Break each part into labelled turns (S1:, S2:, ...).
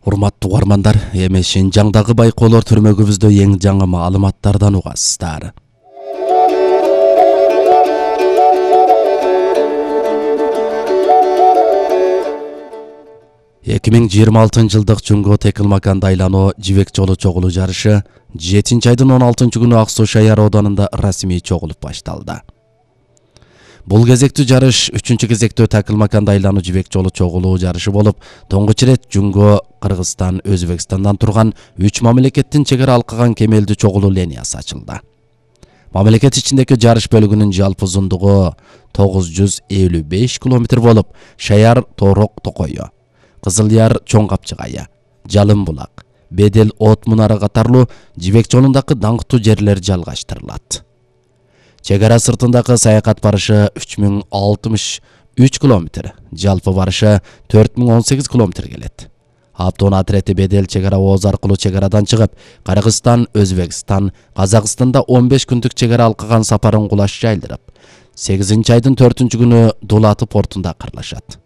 S1: Урматтуу угармандар, эми Шинжаңдагы байкоолор түрмөгүбүздө эң жаңы маалыматтардан угасыздар. 2026 жылдык Жунго Текилмаканды айлануу жибек жолу чогулуу жарышы 7-айдын 16-күнү Ак Суу Шаяр Оданында расмий чогулуп башталды. Бул кезектүү жарыш 3-кезектөө Текилмаканды айлануу жибек жолу чогулуу жарышы болуп, тоңгуч ирет Жунго, Кыргызстан, Өзбекстандан турган 3 мамлекеттин чек ара алкаган кемелдүү чогулуу линиясы ачылды. Мамлекет ичиндеги жарыш бөлүгүнүн жалпы узундугу 955 км болуп, Шаяр Тоорок Токойо, Кызыл Яр Чоң Капчыгайы, Жалын Булак, Бедел От Мунара катарлуу жибек жолундагы даңктуу жерлер жалгаштырылат. Чек ара сыртындагы саякат барышы 3063 км, жалпы барышы 4018 км келет. Аптон атрети Бедел чек ара ооз аркылуу чек арадан чыгып, Кыргызстан, Өзбекстан, Казакстанда 15 күндүк чек ара алкаган сапарын кулаш жайлдырып, 8-айдын 4-күнү Дулаты портунда кырлашат.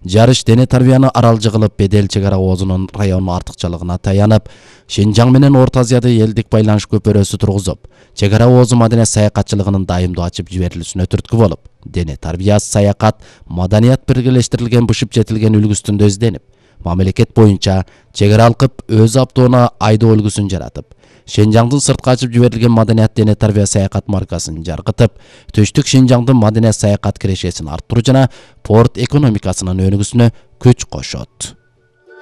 S1: Жарыш дене тарбияны аралжы кылып, Бедел чек ара оозунун район артыкчалыгына таянып, Шинжаң менен Орто Азияда элдик байланыш көпөрөсү тургузуп, чек ара оозу маданият саякатчылыгынын дайымдуу ачып жиберилүүсүнө түрткү болуп, дене тарбия, саякат, маданият биргелештирилген бышып жетилген үлгүсүндө изденип, мамлекет боюнча чек ара алкып, өз аптоона айдоо үлгүсүн жаратып, Шинжаңдын сыртка ачып жиберилген маданият дене тарбия саякат маркасын жаркытып, Түштүк Шинжаңдын маданият саякат кирешесин арттыруу жана порт экономикасынын өнүгүүсүнө күч кошот.